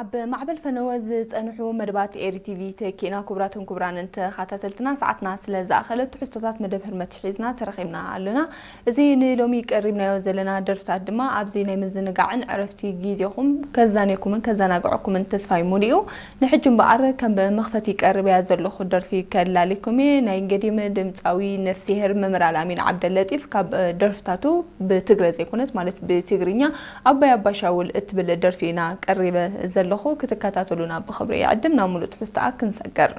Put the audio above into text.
ኣብ ማዕበል ፈነወ ዝጸንሑ መደባት ኤሪ ቲቪ ተኪእና። ክቡራትን ክቡራንን ተኸታተልትና፣ ሰዓትና ስለ ዝኣኸለት ትሕዝቶታት መደብ ህርመት ሒዝና ተረኺብና ኣሎና። እዚ ንሎሚ ቀሪብናዮ ዘለና ደርፍታት ድማ ኣብዚ ናይ ምዝንጋዕን ዕረፍቲ ግዜኹም ከዛንየኩምን ከዘናግዐኩምን ተስፋይ ሙሉኡ። ንሕጂ እምበኣር ከም መኽፈቲ ቀሪበያ ዘለኹ ደርፊ ከላሊኩም እየ። ናይ ገዲም ድምጻዊ ነፍስሄር መምህር ኣልኣሚን ዓብደለጢፍ ካብ ደርፍታቱ ብትግረ ዘይኮነት ማለት ብትግርኛ ኣባይ ኣባሻውል እትብል ደርፊ ኢና ቀሪበ ዘለኹ። ክትከታተሉና ብኽብሪ ይዕድም። ናብ ሙሉእ ትሕዝቶኣ ክንሰግር።